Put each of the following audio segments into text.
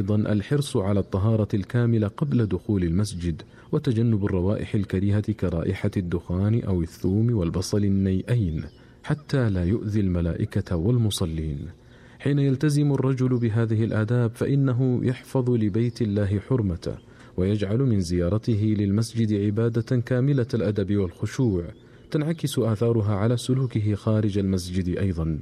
أيضا الحرص على الطهارة الكاملة قبل دخول المسجد، وتجنب الروائح الكريهة كرائحة الدخان أو الثوم والبصل النيئين حتى لا يؤذي الملائكة والمصلين. حين يلتزم الرجل بهذه الآداب فإنه يحفظ لبيت الله حرمته، ويجعل من زيارته للمسجد عبادة كاملة الأدب والخشوع تنعكس آثارها على سلوكه خارج المسجد أيضا.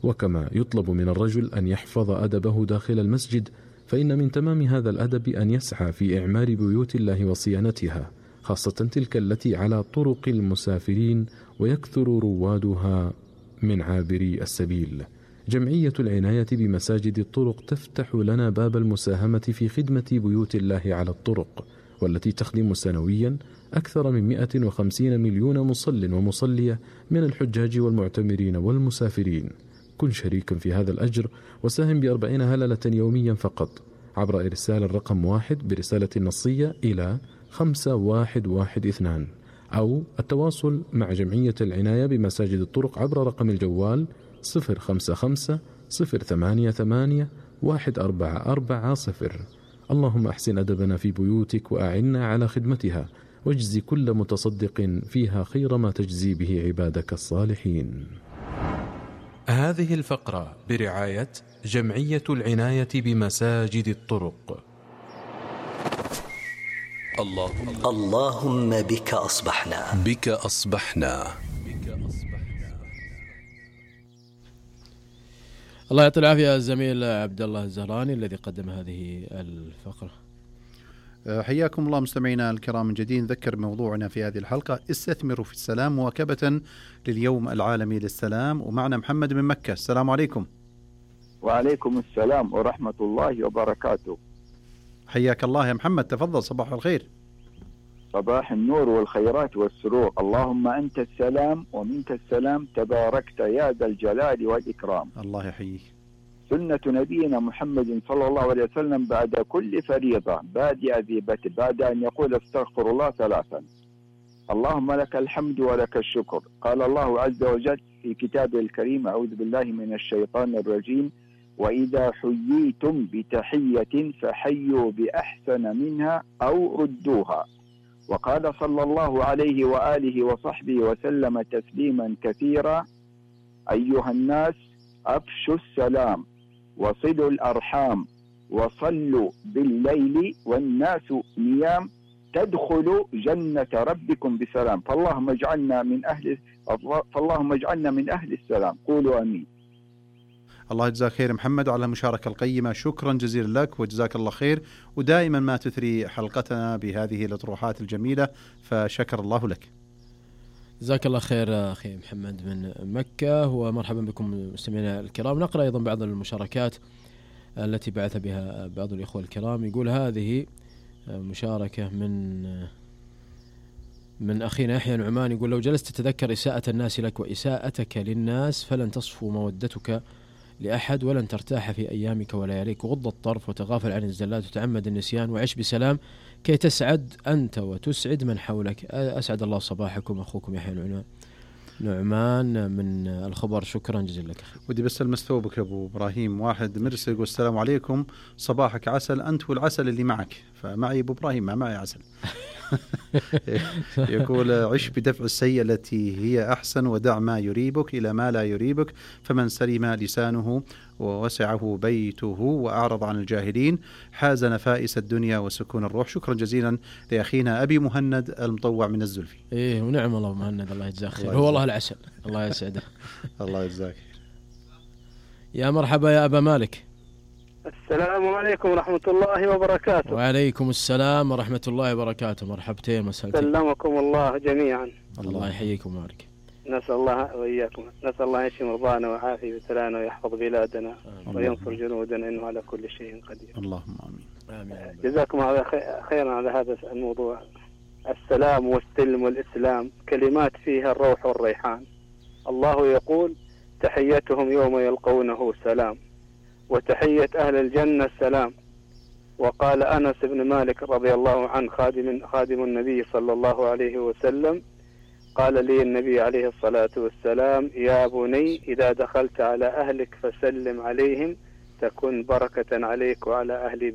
وكما يطلب من الرجل أن يحفظ أدبه داخل المسجد، فإن من تمام هذا الأدب أن يسعى في إعمار بيوت الله وصيانتها، خاصة تلك التي على طرق المسافرين ويكثر روادها من عابري السبيل. جمعية العناية بمساجد الطرق تفتح لنا باب المساهمة في خدمة بيوت الله على الطرق، والتي تخدم سنويا أكثر من 150 مليون مصل ومصلية من الحجاج والمعتمرين والمسافرين. كن شريكا في هذا الأجر وساهم ب40 هللة يوميا فقط عبر إرسال الرقم 1 برسالة نصية إلى 5112، أو التواصل مع جمعية العناية بمساجد الطرق عبر رقم الجوال 055 088 1440. اللهم أحسن أدبنا في بيوتك وأعنا على خدمتها، واجزي كل متصدق فيها خير ما تجزي به عبادك الصالحين. هذه الفقرة برعاية جمعية العناية بمساجد الطرق. اللهم بك أصبحنا. الله يعطي العافية الزميل عبد الله الزهراني الذي قدم هذه الفقرة. حياكم الله مستمعينا الكرام من جديد. نذكر موضوعنا في هذه الحلقة استثمروا في السلام، مواكبة لليوم العالمي للسلام، ومعنا محمد من مكة. السلام عليكم. وعليكم السلام ورحمة الله وبركاته. حياك الله يا محمد، تفضل. صباح الخير. صباح النور والخيرات والسرور. اللهم أنت السلام ومنك السلام، تباركت يا ذا الجلال والإكرام. الله يحييك. سنة نبينا محمد صلى الله عليه وسلم بعد كل فريضة بادئ ذي بتر بعد أن يقول استغفر الله 3. اللهم لك الحمد ولك الشكر. قال الله عز وجل في كتابه الكريم: أعوذ بالله من الشيطان الرجيم: وإذا حييتم بتحية فحيوا بأحسن منها أو ردوها. وقال صلى الله عليه وآله وصحبه وسلم تسليما كثيرا: أيها الناس أفشوا السلام وصلوا الأرحام وصلوا بالليل والناس نيام تدخلوا جنة ربكم بسلام. فاللهم اجعلنا من أهل السلام. قولوا آمين. الله يجزاك خير محمد على المشاركة القيمة، شكرا جزيلا لك وجزاك الله خير، ودائما ما تثري حلقتنا بهذه الأطروحات الجميلة، فشكر الله لك. جزاك الله خير أخي محمد من مكة، ومرحبا بكم مستمعينا الكرام. نقرأ أيضا بعض المشاركات التي بعث بها بعض الإخوة الكرام. يقول هذه مشاركة من أخينا يحيى نعمان، يقول: لو جلست تتذكر إساءة الناس لك وإساءتك للناس فلن تصفو مودتك لأحد ولن ترتاح في أيامك ولياليك. وغض الطرف وتغافل عن الزلات وتعمد النسيان وعيش بسلام كي تسعد أنت وتسعد من حولك. أسعد الله صباحكم. أخوكم يحيى نعمان من الخبر. شكرا جزيلا لك. ودي بس المستوبك أبو إبراهيم، واحد مرسل يقول: السلام عليكم، صباحك عسل أنت والعسل اللي معك. فمعي أبو إبراهيم، ما معي عسل. يقول: عش بدفع السيئة التي هي أحسن، ودع ما يريبك إلى ما لا يريبك، فمن سلم لسانه ووسعه بيته وأعرض عن الجاهلين حاز نفائس الدنيا وسكون الروح. شكرا جزيلا لأخينا أبي مهند المطوع من الزلفي. إيه ونعم الله مهند، الله يجزاه خير. هو الله العسل، الله يسعده. الله يجزاك. يا مرحبا يا أبا مالك. السلام عليكم ورحمة الله وبركاته. وعليكم السلام ورحمة الله وبركاته. مرحبتين مساء. سلمكم الله جميعا. الله يحييكم ويبارك. نسأل الله وإياكم، نسأل الله يشفي مرضانا ويعافي بتلانا ويحفظ بلادنا وينصر جنودنا، إنه على كل شيء قدير. اللهم آمين. جزاكم الله خيرا على هذا الموضوع. السلام والسلم والإسلام كلمات فيها الروح والريحان. الله يقول: تحيتهم يوم يلقونه سلام، وتحية أهل الجنة السلام. وقال أنس بن مالك رضي الله عنه خادم النبي صلى الله عليه وسلم: قال لي النبي عليه الصلاة والسلام: يا بني إذا دخلت على أهلك فسلم عليهم تكن بركة عليك وعلى أهل بيتك.